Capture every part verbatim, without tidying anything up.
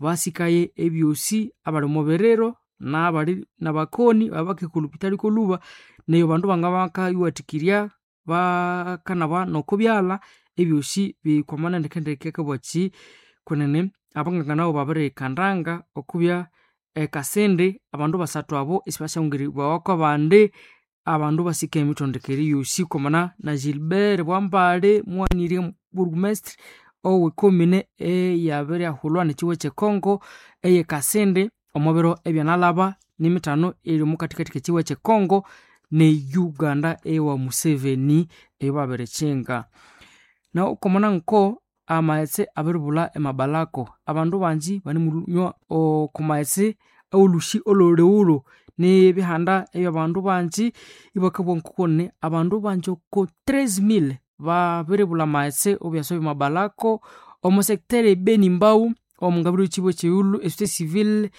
basikaye ebyosi abali omo biriro nabali nabakoni abakahika olhupitali kolhuba neyo abandu bangabakayiwathikirya bakanaba nokobyalha ebyosi bikwamana ndekendeke akabwakyi kwenene abanganga nabo babiriyikandanga okubya ekasindi abandu basathu abo isibasyahungirirbawa kwabandi abandu basika emithondekere yosi kwamana na Gilbert Bwambale muwanirye burgomestre owe commune eyabiryahulwa nekihugo kyekongo eye Kasindi omubiro ebyanalaba nimithano eri omukathikathi kekihugo kyekongo ne Uganda ewa Museveni eyobabirikyinga. Nahu kwamana nko amaghetse abiribulha emabalako abandu bangi banemunywa okumaghetse awolhusi olholighulhu nibihanda ebyabandu bangi ibakabugha ngokune abandu bangi oko treize mille babiribulha amaghetse omubyasa byamabalako omo secteur e Beni Mbau omungabiro yekibuga ekyeghulhu esociété civile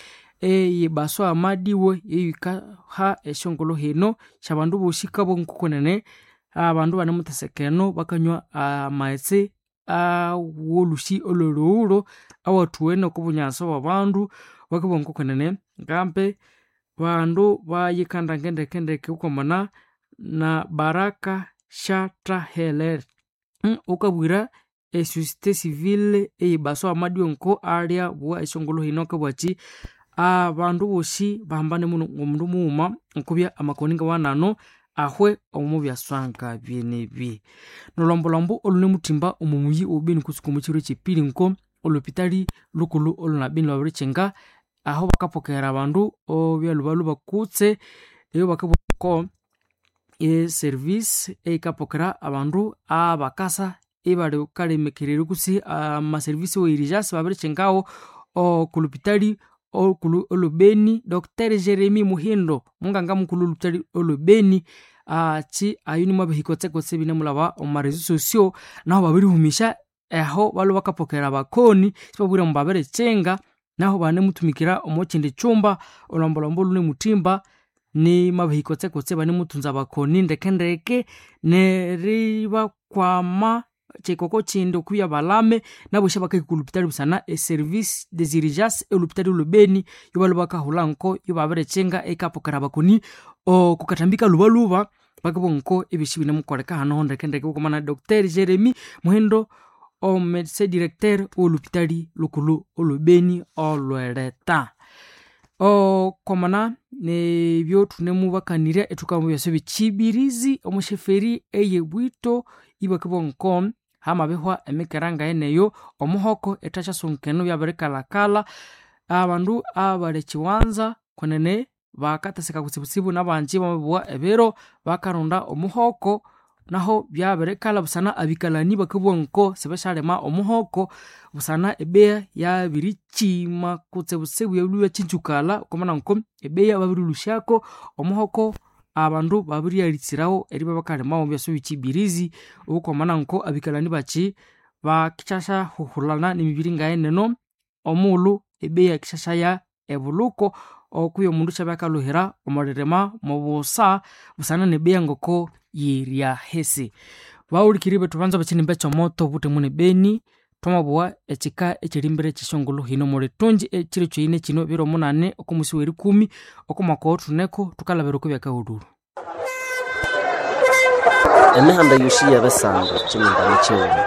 eye Baswa Madiwe yeyikaha esyongulhu hino syabandu bosi kabugha ngokwenene abandu banemutheseka eno bakanywa amaghetse awolhusi olholighulhu awathuwene okobunyasa bwabandu bakabugha ngokwenene ngambe bandu bayikandanga ndekendeke okwamana na Baraka Shathaheler wukabwira esociété civile eye Baswa Madiwe nko alyabugha esyongulhu hino akabugha abandu bosi bahambane muno ngomundu mughuma okubya amakoni ngawanano ahwe omubyaswa ngabyenebi. Nolhombolhombo olhunemuthimba omo muyi owe Beni kutsuka omukyiro kyepiri nko olhupitali lhukulhu olhuna Beni lhwabirikyinga aho bakapokera abandu obyalhubalhuba kutse eyo bakabugha e service eyikapokera abandu abakasa ibali kalemekererya kutse ama service we urgence babirikyingawo okulhupitali olhukulhu olwe Beni Doctor Jeremy Muhindo munganga mukulhu olhupitali olwe Beni akyi ayu nimwabihika kutse ibinemulhaba omo réseaux sociaux nahu babirihumisya aho balhwe bakapokera abakoni sibabugha ambu babirikyinga nahu banemuthumikira omokyindi kyumba olhombolhombo olhunemuthimba nimwabihika kutse ibanemuthunza abakoni ndekendeke neribakwama kyikoko kyindi okubya balame nabosi abakahika olhupitali busana e service des urgences olhupitali olwe Beni yobalhwe bakahulha nko yobabirikyinga eyikapokera abakoni okukathambi kalhubalhuba bakabugha nko ebyosi binemukoleka hano ndekendeke bukwamana Doctor Jeremy Muhindo omumedecin directeur owolhupitali lhukulhu olwe Beni olhweleta. Okwamana nebyo thunemubakanirya ithukabya omubyasa byekyibirizi omosheferi eye Bwito ibakabugha nko hamabihwa emikera ngayeneyo omuhoko ithasyasonkene byabirikalhakalha abandu abali ekyiwanza kwenene bakatheseka kutsibutsibu nabangi bamabugha ebiro bakaronda omuhoko naho byabirikalha busana abikalani bakabugha nko sibasyalima omuhoko busana ebeya yabirikyima kutsibutsibu yalhwa iyakyinjukalha okwamana nko ebeya babirilhusyako omuhoko abandu babiryalitsirawo eribya bakalhimawo omubyasa byekyibirizi okwamana nko abikalani bakyi bakisyahuhulana nemibiri ngayeneno omughulhu ebeya yikisyasya ebulhuko okwihi omundu syabya akalhuhira omwilirima mubusa busana nebeya ngoko yiryahisi. Bahulikiriri bethu banza bekyinimba ekyomoto obuthemu ne Beni thwamabugha ekyika ekyerimbere kyesyongulhu hino omulithungyi ekyiro kyoyine kino biro munani okomusi werikumi okomwaka owothuneko thukalhabira okobyakahulhulhu. Emihanda yosi yebisando kyinimba nikyighuma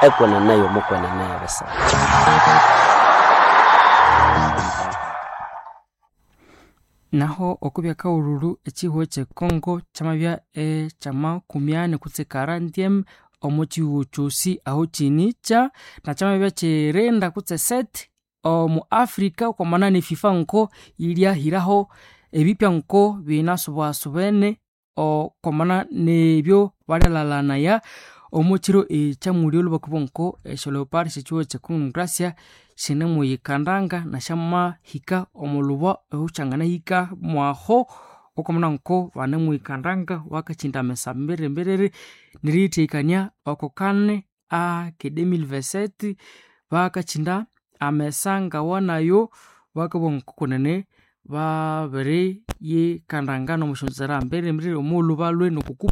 ekwenene yomukwenene yebisando. Naho okubyakahulhulhu ekyihugho kyekongo kyamabya ekyamakumi ani kutse quarantième omo kyihugho kyosi aho kyinikya nakyamabya kyirinda kutse sete omu Africa okwamana ne FIFA nko yiryahiraho ebipya nko binasubasubene okwamana nebyo balyalalhanaya omo kyiro ekyamulyo bakabugha nko esyo leopard syekyihugho kye Congo Demokrasia sinemuyikandanga nasyamahika omulhuba ohukyanganahika mwaho okwamana nko banemuyikandanga bakakyinda amesa mbiriri neriyithahikania oko kane ake deux mille vingt-sept bakakyinda amesa ngawanayo bakabugha nko kwenene babiriyikandanga nomusyonzera mbiriri mbiriri omughulhu balhwe noko